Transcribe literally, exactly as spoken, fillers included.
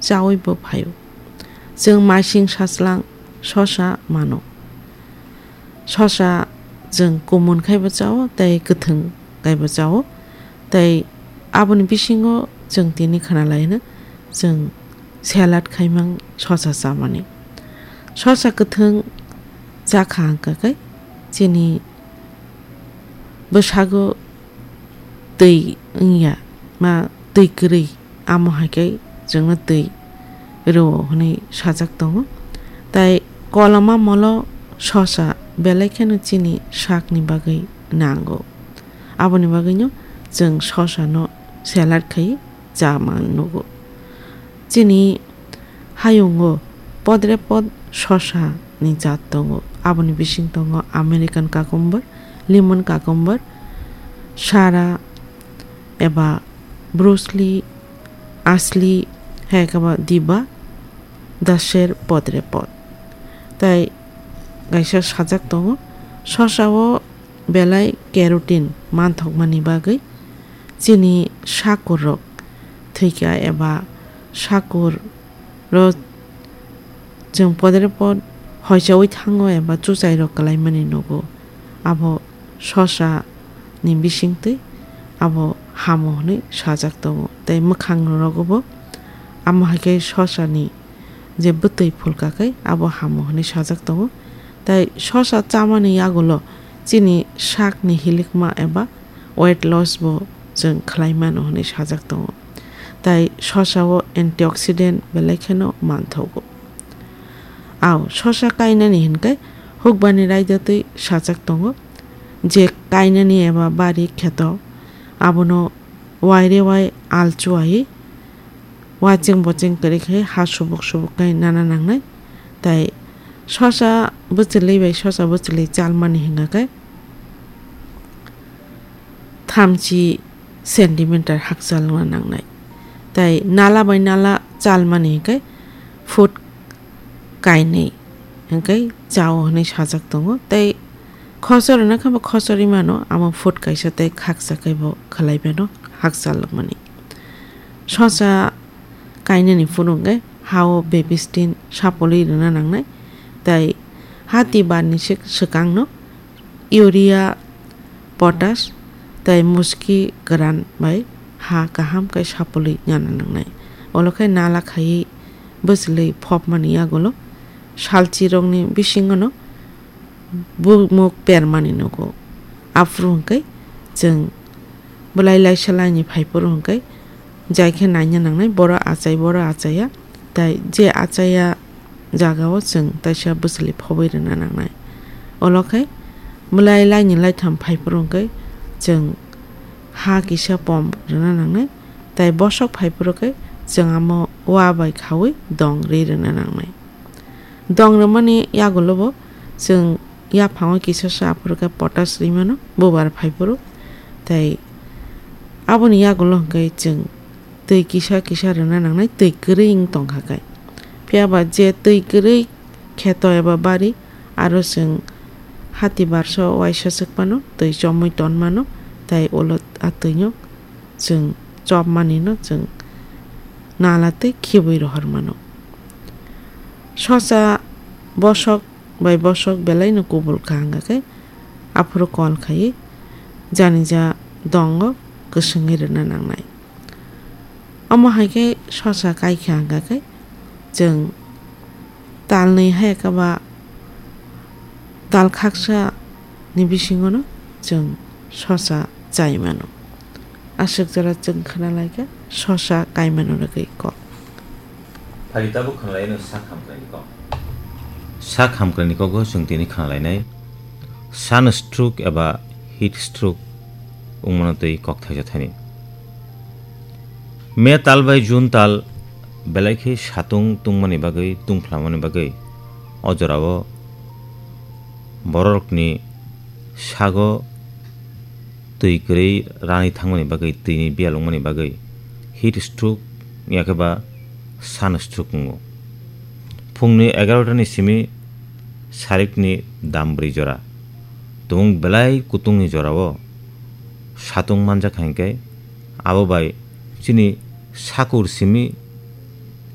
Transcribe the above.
chaui bo phaio. Chwng maising sachwlang sosa mano. Sosa chwng kumun khai bo chao tei kwthwng khai bo chao. Tei aboni bisingo chwng tini khwnalaino chwng salad khaimang sosa chamani. Sosa kwthwng chakha hwnkha khe chini bwsago twi wngya, ma twi kwrwi, amo hai khe chwngno twi rwo hwnwi sajak tongo. Tai koloma molo sosa belai kheno chini sakni bagwi nango. Aboni bagwino chwng sosano salad khai chama nugo. Chini hayungo podre pod sosa ni jat tongo. Aboni bising tongo American cucumber, lemon cucumber, sara eba broccoli, asli, hai khe ba diba, daser podre pod. Tai kaisa sajak tongo. Sosa o belai carotene manthokmani bagwi chini sakur rok thwikha eba sakur rok chwng podre pod hoichaui thango eba chuchai rok kwlaimani nugo. Abo sosa ni bisingtwi abo hamo hwnwi sajak tongo. Tei mwkhang rogo bo amo hai khe sosa ni je bwtwi phulka khe abo hamo hwnwi sajak tongo. Tai sosa chamani yagulo chini sakni hilikma eba weight loss bo chwng khlai mano hwnwi sajak tongo. Tai sosa o antioxidant belai kheno manthogo. Au sosa kainani hinkhe hukbani raida twi sajak tongo, je kainani eba bari kheto abono waire wai alchuai wacheng bocheng kwrwi khe ha subuk subuk khe nana nangnai. Tai sosa bwchwlwi bai sosa bwchwlwi chalmani hwnga khe thamchi centimeter hakchalna nangnai. Tai nala bai nala chalmani hwnkhe foot kainwi hwnkhe chao hwnwi sajak tongo. Tai khosor hwnwi khe bo khosor wngmano, amo foot kaisa tei khaksa khe bo khwlai mano hakchalmani. Sosa kainani phuru hwnkhe ha-o bebistin sapolwi rwna nangnai. Tai ha twi barni sik-, swkangno urea, potash tei muski kwran bai ha kaham khe sapolwi nana nangnai. Olo khe nala khaiwi bwchwlwi phopmani yagulo salchirokni bisingono bumuk permani nugo. Aphuru hwnkhe chwng bwlai laisa laini phaiphuru hwnkhe jai khe naina nangnai, boro achai, boro achaiya. Tai je achaiya jagao chwng taisa bwchwlwi phobwi rwna nangnai. Olo khe bwlai laini laitham phaiphuru hwnkhe chwng ha kisa pom rwna nangnai. Tai bosok phaiphuru khe chwng amo wa bai khaui dong ri rwna nangnai. Dong rwmani yagulo bo chwng yaphango kisa sa aphuru khe potash ri mano, bubar phaiphuru. Tai aboni yagulo hwnkhe chwng twi kisa kisa rwna nangnai, twi kwrwi wng tongkha khe. Phiya ba je twi kwrwi kheto eba bari, aro chwng hati barso waisa swk phano twi chomwi ton mano, tai ulo a twino chwng chopmani no chwng nala tei khibwi rohor mano. Sosa bosok bai bosok belai no kubul kha hwnkha khe aphuru kol khaiwi janija dongo kwswngwi rwna nangnai. Omo hai khe sosa kai kha hwnkha khe chwng talnwi hai khe ba tal khaksa ni bisingo no chwng sosa chai mano. Aswk jora chwng khna lai kha sosa kai mano rwgwi kok. Phari tabuk khna lai no sak hamkrai ni kok. Sak hamkrai ni kogo chwng tini khna lai nai. Sun stroke eba heat stroke wngmano twi kok thaisa thani. May tal bai June tal belai khe satung tungmani bagwi, tungphlamani bagwi o jorao bororokni sago twi kwrwi rani thangmani bagwi, twini biyal wngmani bagwi heat stroke yakhe ba sun stroke wngo. Phungni egarota ni simi sarikni dam bwrwi jora. Tumung belai kutungni jorao satung manjak hai khe abo bai chini sakur simi